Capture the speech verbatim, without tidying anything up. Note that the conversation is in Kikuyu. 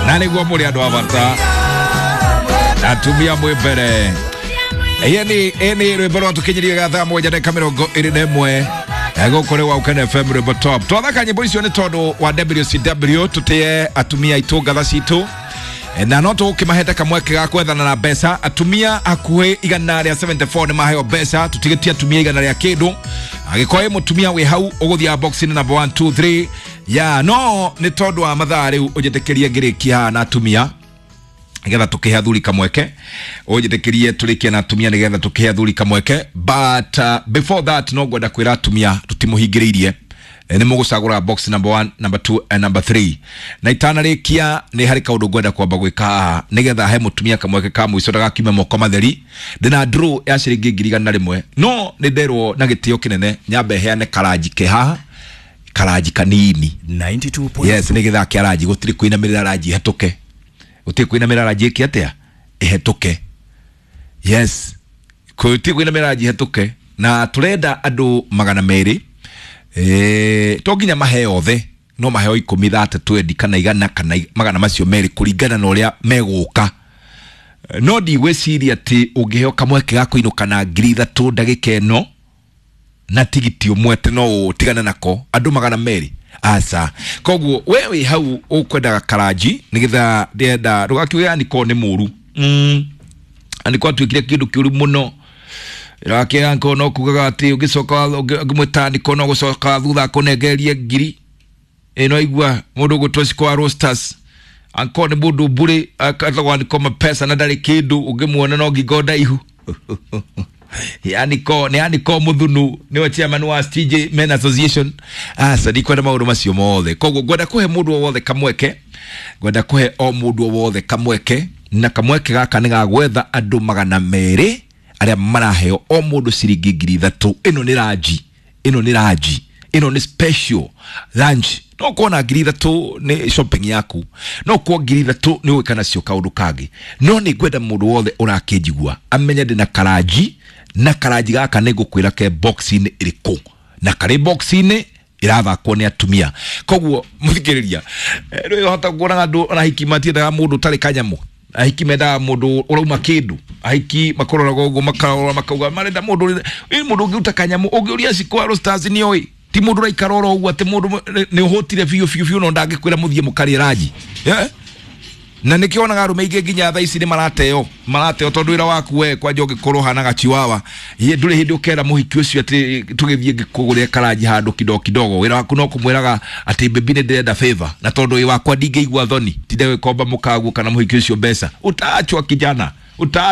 Na nĩguo mũrĩ andũ a bata, atumia mwĩ mbere. Ĩni ĩni rwĩmbo rwatũkinyirie ga thaa mũgwanja ndagĩka mĩrongo ĩrĩ na ĩmwe gũkũ nĩ Waukene F M, rwĩmbo top. Twathaka nyĩmbo icio nĩ tondũ wa W C W, tũtĩe atumia aitũ, ngatha citũ, na no tũgũkĩmahete kamweke ga kwethana na mbeca. Atumia hakuhĩ igana rĩa mĩrongo mũgwanja na inya nĩ maheo mbeca, tũtigĩtie atumia igana rĩa kĩndũ. Angĩkorwo wĩ mũtumia wĩ hau ũgũthiaga box-inĩ number one two three ya no nĩ tondũ wa mathaa rĩu, ũnjĩtĩkĩrie ngĩrĩkia haha na atumia nigetha tukihe athuri kamweke. Ũnjĩtĩkĩrie tũrĩkie na atumia nigetha tukihe athuri kamweke, but uh, before that no ngwenda kwĩra atumia tũtimũhingĩrĩirie. Nĩ mũgũcagũra box number one, number two and number three. Na itanarĩkia nĩ harĩ kaũndũ ngwenda kwamba gwĩka haha nĩgetha he mũtumia kamweke ka mũico ndagakiume moko matheri. Ndĩna draw ya ciringi ngiri igana rĩmwe, no nĩ nderwo na gĩtĩo kĩnene nyambe heane karanji ke haha, karanji kanini. ninety-two. Yes, nĩ gĩthaa kĩa ranji, gũtirĩ kũinamĩrĩra ranji ĩhetũke, gũtirĩ kũinamĩrĩra ranji ĩke atĩa, ĩhetũke. Yes, gũtirĩ kũinamĩrĩra ranji ĩhetũke. Na tũrenda andũ magana merĩ. Eh, to nginya maheo othe, no maheo ikũmi, thate, twendi kana igana kana magana macio merĩ kũringana na ũrĩa megũka. No ndigwĩciria atĩ ũngĩheo kamweke ga kũinũka na ngiri ithatũ ndagĩka ĩno na tigiti ũmwe atĩ no ũtigane nako. Andũ magana merĩ, aca. Koguo we wĩ hau ũkwendaga karanji nĩgetha ndĩrenda ndũgakiuge aniko nĩ mũru. mm. Aniko atuĩkire kĩndũ kĩũru mũno. Rakĩra nko no kugaga atĩ ũngĩcoka ũngĩmwĩta aniko no gũcoka thutha akũnengererie ngiri ĩno. Igua mũndũ ũgũtwo Cikwa Roasters anko nĩ mũndũ mbũrĩ akatagwo aniko mapesa na ndarĩ kĩndũ, ũngĩmuona no ngingo ndaihu. Aniko nĩ Aniko Muthunu, nĩwe chairman wa T J Men Association. Aca, ndikwenda maũndũ macio mothe. Koguo ngwenda kũhe mũndũ o wothe kamweke, ngwenda kũhe o mũndũ o wothe kamweke, na kamweke gaka nĩ ga gwetha andũ magana merĩ arĩa maraheo o mũndũ ciringi ngiri ithatũ. Ĩno nĩ ranji, ĩno nĩ ranji, ĩno nĩ special lunch. No kuona ngiri ithatũ nĩ shopping yaku, no kuo ngiri ithatũ nĩ ũgwĩka nacio kaũndũ kangĩ. No nĩ ngwenda mũndũ wothe ũrakĩnjigua amenye ndĩna karanji, na karanji gaka nĩ ngũkwĩra ke box-inĩ ĩrĩkũ, na karĩ box-inĩ ĩrathakwo nĩ atumia. Koguo mũthikĩrĩria, rĩu hota kuona andũ ona ahiki matiendaga mũndũ ũtarĩ kanyamũ. Ahiki mendaga mũndũ ũrauma kĩndũ. Ahiki makũroraga ũguo, makarora, makauga marenda mũndũ ĩ mũndũ ũngĩruta kanyamũ. Ũngĩũria Cikwa Roasters nĩ oĩ ti mũndũ ũraikara oro ũguo atĩ mũndũ nĩ ũhũtire biũ biũ biũ, no ndangĩkwĩra mũthiĩ mũkarĩe ranji, yeah? Na nĩkĩo onaga arũme aingĩ nginya thaa ici nĩ marateo, marateo tondũ wĩra waku we kwanja ũngĩkorwo hana gachiwawa ye ndũrĩ hĩndĩ ũkera mũhiki ũcio atĩ tũgĩthiĩ ngĩkũgũrĩre karanji handũ kidogo kidogo. Wĩra waku no kũmwĩraga atĩ baby, nĩ ndĩrenda favor, na tondũ wĩ wakwa ndingĩigua thoni tinde gũkomba mũkaguo kana mũhiki ũcio mbeca. Utaachwa, kijana, uta